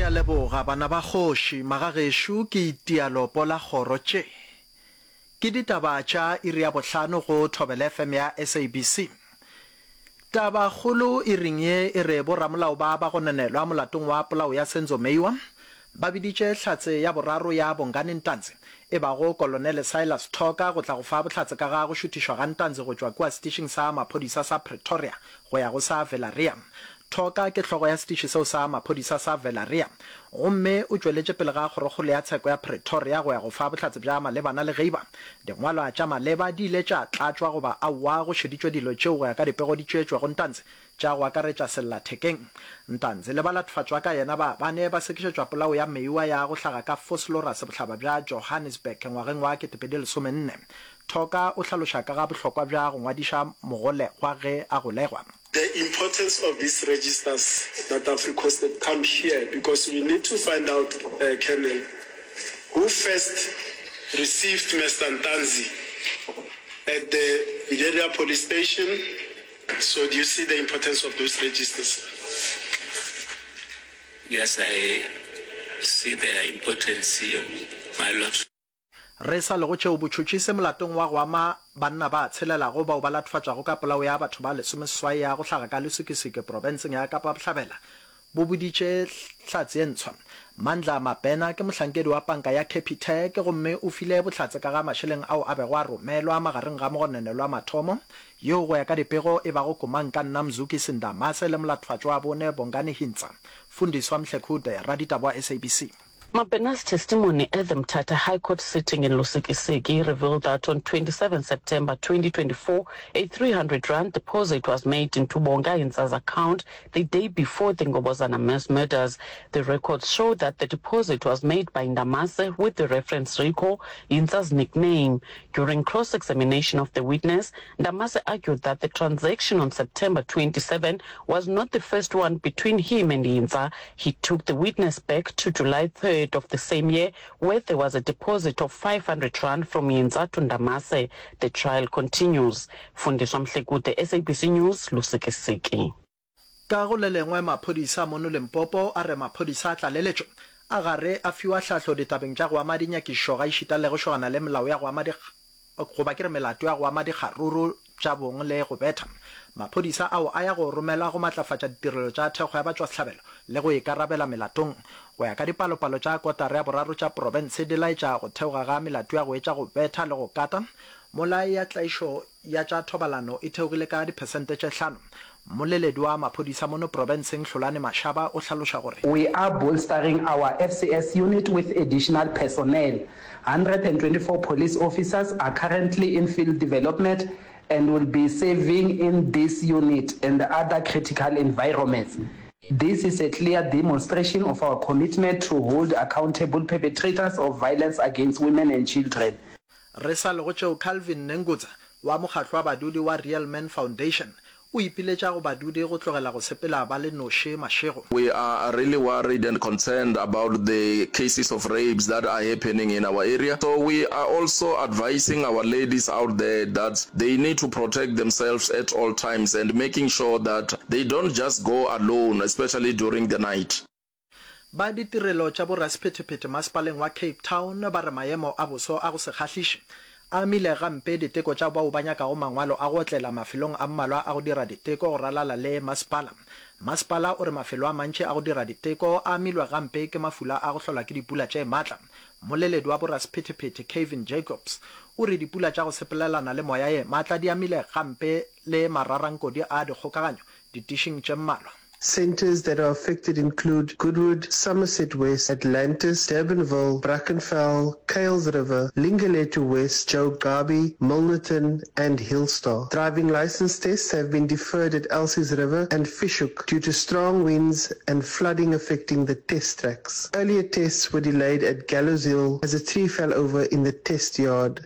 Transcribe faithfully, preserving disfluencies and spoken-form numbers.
Ke a leboga bana ba kgoši, magagešo ke itia lopo la kgoro tše. Ke ditaba tša iri ya bohlano go Thobela F M ya S A B C. Tabakgolo iring ye e re boramolao ba ba gononelwa molatong wa polao ya Senzo Meyiwa ba biditše hlatse ya boraro ya Bongani Ntanzi e bago Kolonele Silas Thoka go tla go fa bohlatse ka ga go šuthišwa ga Ntanzi go tšwa kua setišing sa maphodisa sa Pretoria go ya go sa Villieria. Thoka ke hlogo ya setiši seo sa maphodisa sa Villieria gomme o tšweletše pele ga kgorokgolo ya tsheko ya Pretoria go ya go fa bohlatse bja malebana le geiba dingwalwa tša maleba di ile tša tlatšwa goba aowa go šeditšwe dilo tšeo go ya ka dipego di tšeetšwego Ntanzi tša go akaretša sellathekeng. Ntanzi le balatfatswa ka yena ba bane ba sekišetšwa polao ya Meyiwa ya go hlaga ka Vosloorus bohlaba bja Johannesburg ngwageng wa ketepedi lesomenne. Thoka o hlaloša ka ga bohlokwa bja go ngwadiša mogolegwa ge a golegwa. The importance of these registers that I've requested come here because we need to find out, uh, Colonel, who first received Mister Ntanzi at the Villieria police station. So do you see the importance of those registers? Yes, I see their importance, my lord. Re sa le go tšeo botšhotšhisi molatong wa go ama banna ba tshelelago bao ba latofatšwago ka polao ya batho ba lesomeseswai ya go hlaga ka Lusikisiki profenseng ya Kapa Bohlabela bo boditše hlatse ye ntshwa. Mandla Mabena ke mohlankedi wa panka ya Capitec gomme o file bohlatse ka ga mašeleng ao a bego a romelwa magareng ga mogononelwa mathomo yo go ya ka dipego e bago Komang-ka nna Mzukisi Ndamase le molatofatšwa wa bone Bongani Hintsa. Fundiswa Mhlekhude, raditaba wa S A B C. Mabena's testimony at the Mthatha High Court sitting in Lusikisiki revealed that on twenty-seven September twenty twenty-four, a three hundred rand deposit was made into Bonga Hintsa's account the day before the Ngobozana mass murders. The records show that the deposit was made by Ndamase with the reference Rico, Hintsa's nickname. During cross-examination of the witness, Ndamase argued that the transaction on September twenty-seven was not the first one between him and Hintsa. He took the witness back to July third of the same year, where there was a deposit of five hundred rand from Hintsa to Ndamase. The trial continues. Fundiswa Mhlekude, S A B C News, Lusikisiki. Ka go le lengwe maphodisa mono Limpopo a re maphodisa a tlaleletšo a gare a fiwa hlahlo ditabeng tša go ama dinyakišo ga išita le go šogana le melao ya go ama di, goba ke re melato ya go ama dikgaruru tša bong le go betha. Maphodisa ao a ya go romelwa go matlafatša ditirelo tša thekgo ya batšwasehlabelo le go ikarabela melatong. Go ya ka dipalopalo tša kotara ya boraro tša profense di laetša go theoga ga melato ya go etša go betha le go kata, mola ya tlaišo ya tša thobalano e theogile ka diphesente tše hlano. Mmoleledi wa maphodisa mono profenseng Hlolane Mashaba o hlaloša gore We are bolstering our F C S unit with additional personnel. hundred and twenty-four police officers are currently in field development and will be serving in this unit and other critical environments. This is a clear demonstration of our commitment to hold accountable perpetrators of violence against women and children. Re sa le go tšeo Calvin Nengutsa wa mokgatlo wa badudi wa Real Men Foundation o ipiletša go badudi go tlogela go sepela ba le noši mašego. We are really worried and concerned about the cases of rapes that are happening in our area. So we are also advising our ladies out there that they need to protect themselves at all times and making sure that they don't just go alone, especially during the night. Ba ditirelo tša borasephetephete masepaleng wa Cape Town ba re maemo a boso a go se kgahliše a amile gampe diteko tša bao ba nyakago mangwalo a go otlela mafelong a mmalwa a go dira diteko go ralala le masepala. Masepala o re mafelo a mantši a go dira diteko a amilwe gampe ke mafula a go hlolwa ke dipula tše matla. Mmoleledi wa borasephetephete Kevin Jacobs o re dipula tša go sepelelana le moya ye matla di amile gampe le mararankodi a dikgokaganyo ditišing tše mmalwa. Centers that are affected include Goodwood, Somerset West, Atlantis, Durbanville, Brackenfell, Kuils River, Lingelethu West, Joe Gqabi, Milnerton and Hillstar. Driving license tests have been deferred at Elsies River and Fish Hoek due to strong winds and flooding affecting the test tracks. Earlier tests were delayed at Gallows Hill as a tree fell over in the test yard.